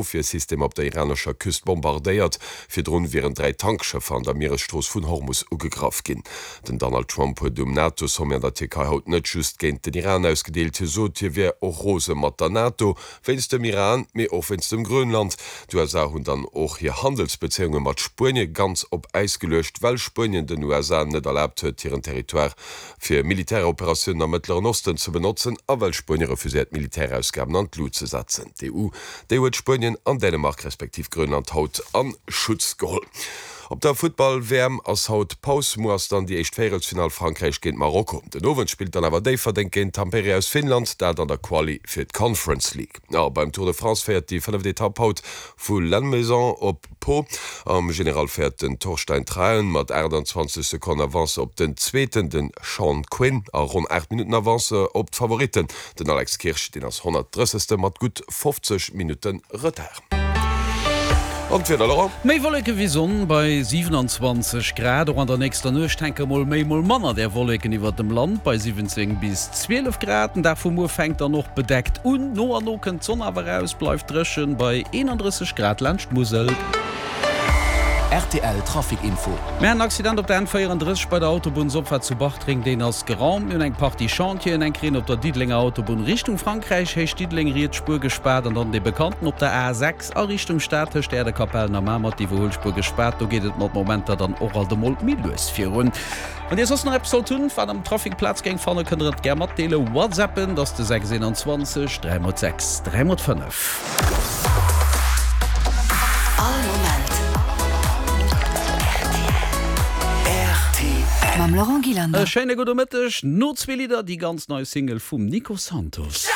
Ofwiersystem op der iranescher Küst bombardéiert. Virdrun wieren 3 Tankschëffer an der Mieresstrooss vun Hormus ugegraff ginn. Den Donald Trump huet um NATO-Sommet an der Tierkei haut net just géint den Iran ausgedeelt. Hie sot, hie wier och rose mat der NATO, wéinst dem Iran, mee och wéinst dem Grönland. D'USA hunn dann och hir Handelsbezéiunge mat Spuenie ganz op Äis geluecht, well Spuenien den USA net erlaabt huet, hiren Territoire fir Militäroperatiounen am Mëttleren Osten ze benotzen a well Spuenie refuséiert, Militärausgaben an d'Lut ze setzen. D'EU, déi huet Spuenien an Dänemark respektiv Grönland haut a Schutz geholl. Op der Futtball-WM ass haut Paus. Muer ass dann déi éischt Véierelsfinall, Frankräich géint Marokko. Den Owend spillt dann awer Déifferdeng géint Tampere aus Finnland, dat an der Quali fir d'Conference League. A beim Tour de France féiert déi fënneft Etapp haut vu Lannemezan op Pau. Am General féiert den Torstein Traen mat 28 Sekonnen Avance op den Zweeten, de Sean Quinn, a ronn 8 Minutten Avance op d'Favoritten, Den Alex Kirsch, deen ass 130. Mat gutt 50 Minutte Retard. An d'Wieder, Laurent? Méi Wolleke wéi Sonn bei 27 Grad. Och an der nächster Nuecht hänke mol méi, mol manner där Wolleken iwwert dem Land bei 17 bis 12 Grad. Den Dag vu muer fänkt dann och bedeckt un, no an no kënnt d'Sonn awer eraus, bleift dréchen bei 31 Grad laanscht d'Musel. Rtl Trafic Info. Mir haten en Accident op der N34 bei der Autobunnsopfaart zu Bartreng, deen ass geraumt. Mir hunn eng Partie Chantieren, eng Kreen op der Diddelenger Autobunn Richtung Frankräich, Héicht Diddeleng, riets Spuer gespaart an dann dee bekannten op der A6 a Richtung Stad tëscht Äerdekapellen a Mamer, d'Iwwerhuelspuer gespaart. Do geet et mat Momenter dann och alt emol méi lues virun. Wann Dir soss nach eppes sollt hunn, wat am Trafic Plaz géing fannen, kënnt Der et gär matdeelen. Whatsappen, dat ass de 6 21 3 x 6 3 x 5. All Moment rtl. Mam Laurent Gillander. E schéine gudde Mëtteg. No zwee Lidder déi ganz nei Single vum Nico Santos.